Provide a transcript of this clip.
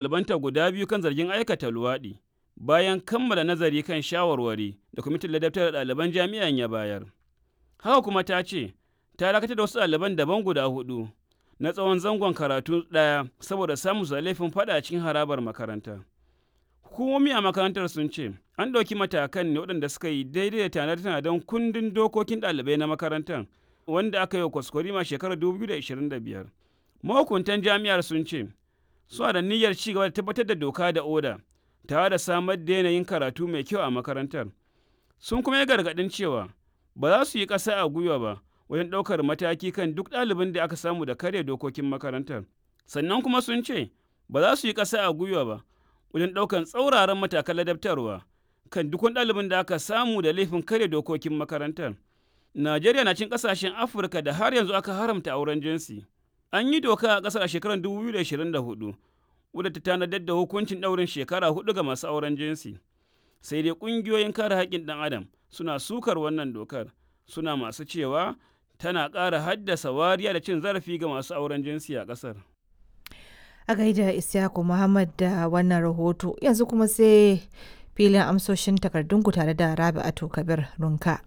Ɗalibanta guda biyu kan zargin aikata luwaɗi, bayan kammala nazari kan shawarwari da Kwamitin Ladabtar da Ɗaliban Jami'an ya bayar. Haka kuma ta ce ta dakatar da wasu ɗaliban daban guda huɗu na tsawon zangon karatu ɗaya saboda samunsu da laifin faɗa a cikin harabar makaranta. Hukumomi a makarantar sun ce an ɗauki matakan ne waɗanda suka yi daidai da tanade-tanaden kundin dokokin ɗalibai na makarantar wanda aka yi wa kwaskwarima shekarar 2025. Mahukuntan jami'ar sun ce suna da niyyar ci gaba da tabbatar da doka da oda tare da samar da yanayin karatu mai kyau a makarantar. Sun kuma yi gargaɗin cewa ba za su yi ƙasa a gwiwa ba wajen ɗaukar mataki kan duk ɗalibin da aka samu da karya dokokin makarantar. Sannan kuma sun ce ba za su yi ƙasa a gwiwa ba wajen ɗaukar tsauraran matakan ladabtarwa kan duk wani ɗalibin da aka samu da laifin karya dokokin makarantar. Najeriya na cikin ƙasashen Afirka da har yanzu aka haramta auren jinsi. An yi doka a ƙasar a shekarar 2024 wadda ta tanadar da hukuncin ɗaurin shekara huɗu ga masu auren jinsi. Sai dai ƙungiyoyin kare haƙƙin ɗan adam suna sukar wannan dokar, suna masu cewa tana ƙara haddasa wariya da cin zarafi ga masu auren jinsi a ƙasar. A gaida Isyaku Muhammad da wannan rahoto, yanzu kuma sai filin amsoshin takardunku tare da Rabi'atu Kabir Runka.